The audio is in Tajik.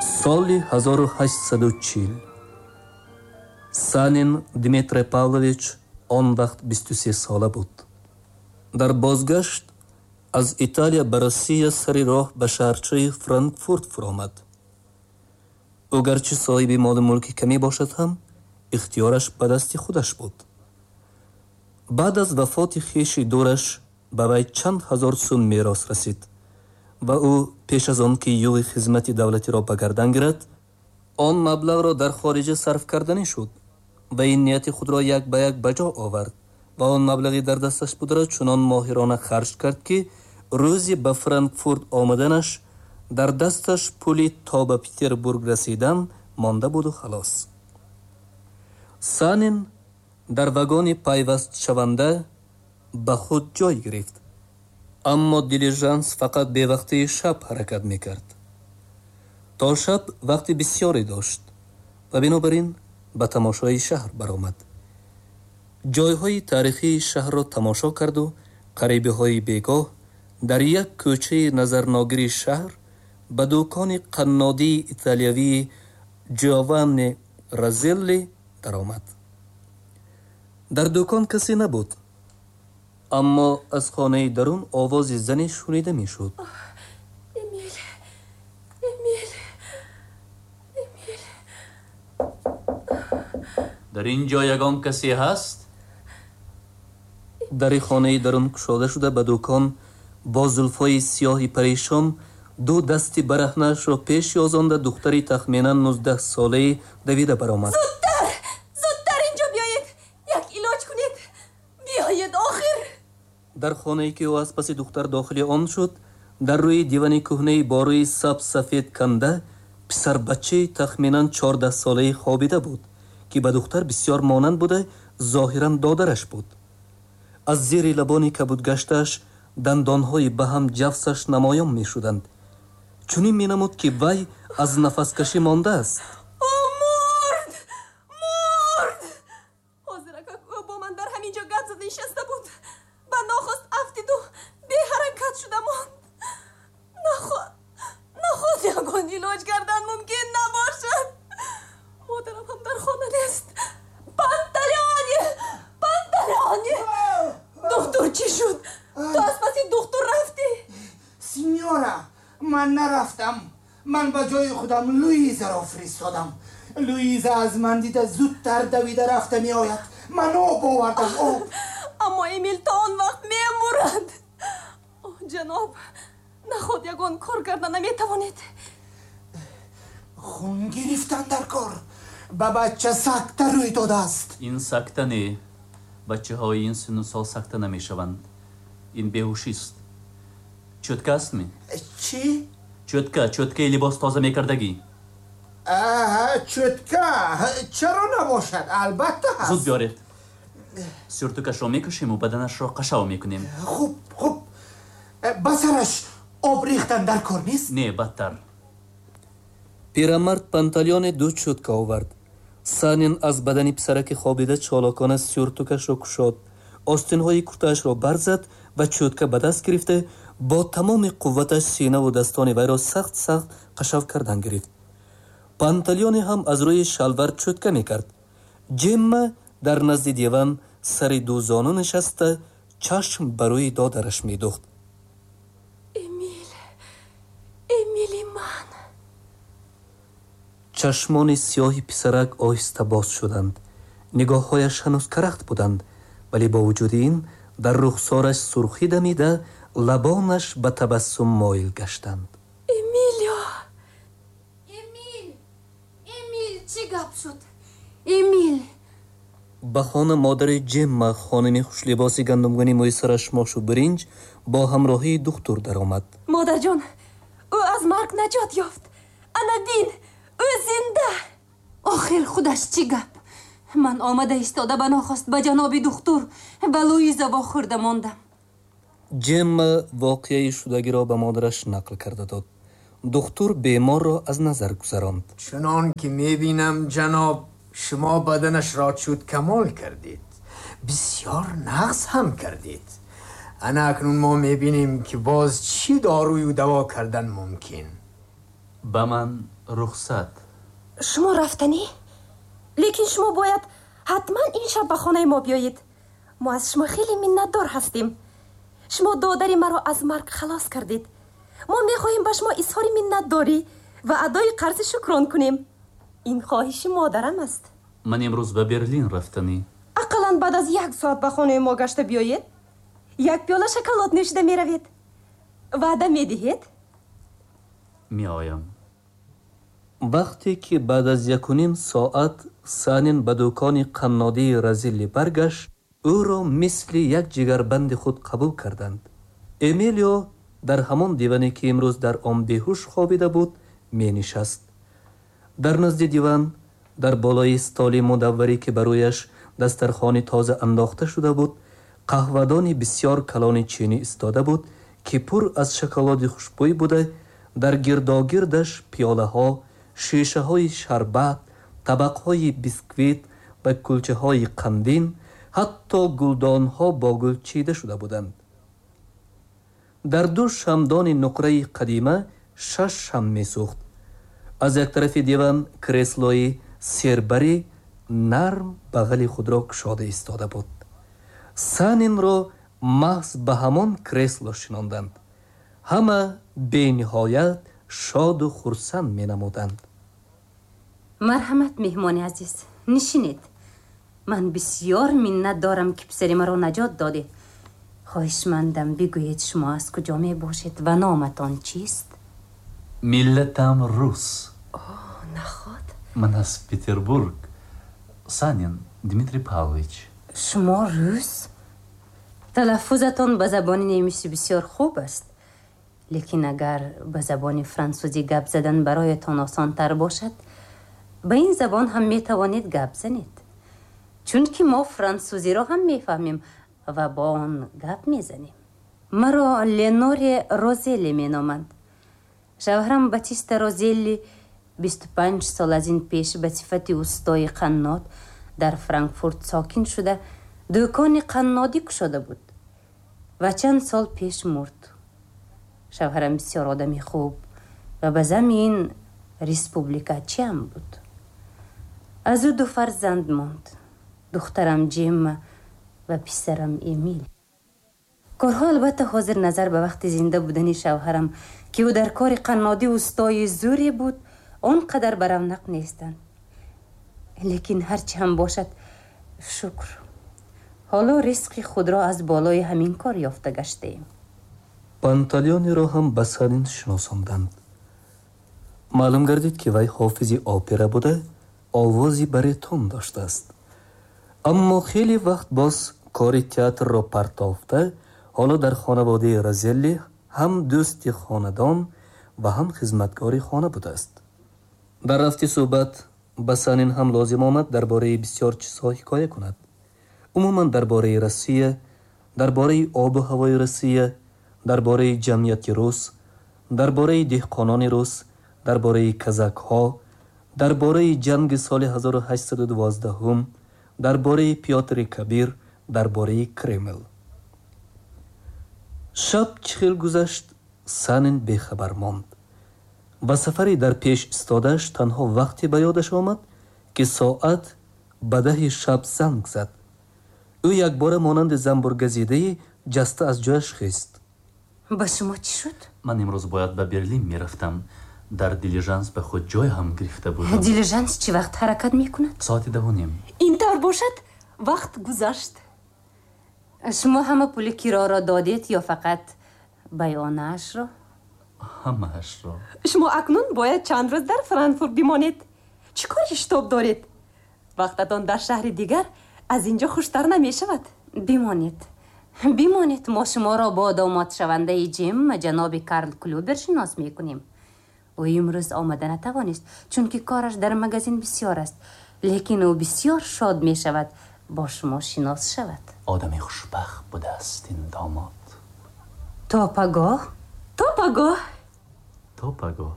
Соли 1840 Санин Дмитрий Павлович он вақт 23 сола буд. Дар бозгашт аз Италия ба Россия сари роҳ ба шаҳрчаи Франкфурт фуромад. Ӯ гарчи соҳиби молу мулки камӣ бошад ҳам, ихтиёраш ба дасти худаш буд. Баъд аз вафоти хеши дураш ба вай чанд ҳазор сум мерос расид ва ӯ пеш аз он ки юғи хизмати давлатиро ба гардан гирад, он маблағро дар хориҷа сарф карданӣ шуд ва ин нияти худро як ба як ба ҷо овард ва он маблағи дар дасташ бударо чунон моҳирона харҷ кард, ки рӯзи ба Франкфурт омаданаш дар дасташ пули то ба Петербург расидан монда буду халос. Санин дар вагони пайвастшаванда ба худ ҷой гирифт, аммо дилижанс фақат бевақтии шаб ҳаракат мекард. То шаб вақти бисёре дошт ва бинобар ин ба тамошои шаҳр баромад. Ҷойҳои таърихии шаҳрро тамошо карду қарибиҳои бегоҳ дар як кӯчаи назарногири шаҳр ба дукони қаннодии италиявии Ҷованни Разелли даромад. Дар дукон касе набуд, аммо аз хонаи дарун овози зане шунида мешуд. Эмил, Эмил, Эмил. Дар ин ҷо ягон касе ҳаст? Дари хонаи дарун кушода шуда, ба дукон бо зулфҳои сиёҳи парешон, ду дасти бараҳнаашро пеш ёзонда, духтари тахминан 19-солаи давида баромад. Зудтар, зудтар инҷо биёед, як илоҷ кунед, биёед охир. Дар хонае ки ӯ аз паси духтар дохили он шуд, дар рӯи дивани кӯҳнаи бо рӯи сабз сафед канда писарбачаи тахминан 14-солаи хобида буд, ки ба духтар бисёр монанд буда, зоҳиран додараш буд. Аз зери лабони кабудгаштааш дандонҳои ба ҳам ҷафсаш намоён мешуданд. Чунин менамуд, ки вай аз нафаскашӣ мондааст. Ӯ мурд, мурд. Ҳозиракак ӯ бо ман дар ҳамин ҷо гап зада нишаста буд, ба нохост афтиду беҳаракат шуда монд. Наход, наход ягон илоҷ кардан мумкин набошад. Модарам ҳам дар хона нест. Панталеоне, Панталеоне, духтур чӣ шуд? Ту аз паси духтур рафтӣ? Синьора, ман нарафтам. Ман ба ҷои худам Луизаро фиристодам. Луиза аз ман дида зудтар давида рафта меояд. Ман об овардам, об. Аммо Эмил то он вақт мемурад. Ҷаноб, наход ягон кор карда наметавонед? Хун гирифтан дар кор. Ба бача сакта рӯй додааст. Ин сакта не, бачаҳои ин синну сол сакта намешаванд. Ин беҳушист. Чӯтка астми? Чӣ? Чӯтка, чӯткаи либос тоза мекардагӣ. Чӯтка чаро набошад? Албатта ҳаст. Зуд биёред. Сюртукашро мекушему баданашро қашав мекунем. Хуб, хуб. Ба сараш об рехтан дар кор нест? Не, бадтар. Пирамард Панталеоне ду чӯтка овард. Санин аз бадани писараки хобида чолокона сюртукашро кушод, остинҳои куртаашро барзад ва чӯтка ба даст гирифта, бо тамоми қувваташ синаву дастони вайро сахт сахт қашав кардан гирифт. Панталеоне ҳам аз рӯи шалвар чӯтка мекард. Ҷемма дар назди диван сари дузону нишаста, чашм ба рӯи додараш медухт. Эмил, Эмили ман. Чашмони сиёҳи писарак оҳиста боз шуданд. Нигоҳҳояш ҳанӯз карахт буданд, вале бо вуҷуди ин дар рухсораш сурхӣ дамида, лабонаш ба табассум моил гаштанд. Эмилио! Эмил, Эмил, чӣ гап шуд? Эмил! Ба хона модари Ҷемма, хоними хушлибоси гандумгуни мӯи сараш мошу биринҷ, бо ҳамроҳии духтур даромад. Модарҷон, ӯ аз марг наҷот ёфт. Ана бин, ӯ зинда. Охир худаш чӣ гап? Ман омада истода ба нохост ба ҷаноби духтур ба Луиза вохӯрда мондам. Ҷемма воқеаи шудагиро ба модараш нақл карда дод. Духтур беморро аз назар гузаронд. Чунон ки мебинам, ҷаноб, шумо баданашро чӯткамол кардед, бисёр нағз ҳам кардед. Ана акнун мо мебинем, ки боз чӣ дорую даво кардан мумкин. Ба ман рухсат. Шумо рафтанӣ? Лекин шумо бояд ҳатман ин шаб ба хонаи мо биёед. Мо аз шумо хеле миннатдор ҳастем. Шумо додари маро аз марг халос кардед. Мо мехоҳем ба шумо изҳори миннатдорӣ ва адои қарзи шукрон кунем. Ин хоҳиши модарам аст. Ман имрӯз ба Берлин рафтанӣ. Ақаллан баъд аз як соат ба хонаи мо гашта биёед. Як пиёла шоколад нӯшида меравед. Ваъда медиҳед? Меоям. Вақте ки баъд аз 1.5 соат Санин ба дукони қаннодии Розелли баргашт, ӯро мисли як ҷигарбанди худ қабул карданд. Эмилио дар ҳамон диване ки имрӯз дар он беҳуш хобида буд, менишаст. Дар назди диван, дар болои столи мудавварӣ ки ба рӯяш дастархони тоза андохта шуда буд, қаҳвадони бисёр калони чинӣ истода буд ки пур аз шоколади хушбӯй буда, дар гирдогирдаш пиёлаҳо, шишаҳои шарбат, табақҳои бисквит ва кулчаҳои қандин, ҳатто гулдонҳо бо гул чида шуда буданд. Дар ду шамдони нуқраи қадима 6 шам месӯхт. Аз як тарафи диван креслои сербари нарм бағали худро кушода истода буд. Санинро маҳз ба ҳамон кресло шинонданд. Ҳама бениҳоят шоду хурсанд менамуданд. Марҳамат, меҳмони азиз, нишинед. Ман бисёр миннат дорам ки писари маро наҷот додед. Хоҳишмандам бигӯед шумо аз куҷо мебошед ва номатон чист? Миллатам рус. О, наход. Ман аз Петербург. Санин Дмитрий Павлович. Шумо рус? Талаффузатон ба забони немисӣ бисёр хуб аст. Лекин агар ба забони франсузӣ гап задан бароятон осонтар бошад, ба ин забон ҳам метавонед гап занед. Чунки мо франсузиро ҳам мефаҳмем ва бо он гап мезанем. Маро Леноре Розелли меноманд. Шавҳарам Батиста Розелли 25 сол аз ин пеш ба сифати устои қаннод дар Франкфурт сокин шуда, дукони қаннодӣ кушода буд ва чанд сол пеш мурд. Шавҳарам бисёр одами хуб ва ба зами ин республикачиам буд. Аз ӯ ду фарзанд монд: духтарам Ҷемма ва писарам Эмил. Корҳо албатта ҳозир назар ба вақти зинда будани шавҳарам, ки ӯ дар кори қаннодӣ устои зӯре буд, он қадар ба равнақ нестанд. Лекин ҳарчи ҳам бошад, шукр, ҳоло ризқи худро аз болои ҳамин кор ёфта гаштаем. Панталеониро ҳам ба Санин шиносонданд. Маълум гардид ки вай ҳофизи опера буда, овози баритон доштааст. Аммо хеле вақт боз кори театрро партофта, ҳоло дар хонаводаи Розелли ҳам дӯсти хонадон ва ҳам хизматгори хона будааст. Дар рафти суҳбат ба Санин ҳам лозим омад дар бораи бисёр чизҳо ҳикоя кунад. Умуман дар бораи Россия, дар бораи обу ҳавои Россия, дар бораи ҷамъияти рус, дар бораи деҳқонони рус, дар бораи казакҳо, дар бораи ҷанги соли 1812, дар бораи Пётри Кабир, дар бораи Кремл. Шаб чӣ хел гузашт, Санин бехабар монд. Ба сафари дар пеш истодааш танҳо вақте ба ёдаш омад, ки соат ба 10 шаб занг зад. Ӯ якбора монанди занбургазидае ҷаста аз ҷояш хест. Ба шумо чӣ шуд? Ман имрӯз бояд ба Берлин мерафтам. Дар дилижанс ба худ ҷой ҳам гирифта будам. Дилижанс чӣ вақт ҳаракат мекунад? Соати 10:30. Ин тавр бошад, вақт гузашт. Шумо ҳама пули кироро додед ё фақат баёнаашро? Ҳамаашро. Шумо акнун бояд чанд рӯз дар Франкфурт бимонед. Чӣ кори шитоб доред? Вақтатон дар шаҳри дигар аз инҷо хуштар намешавад. Бимонед. Бимонед, мо шуморо бо домодшавандаи Ҷемма ҷаноби Карл Клюбер шинос мекунем. Ӯ имрӯз омада натавонист, чунки кораш дар магазин бисёр аст, лекин ӯ бисёр шод мешавад бо шумо шинос шавад. Одами хушбахт будааст ин домод. То пагоҳ? То пагоҳ. То пагоҳ.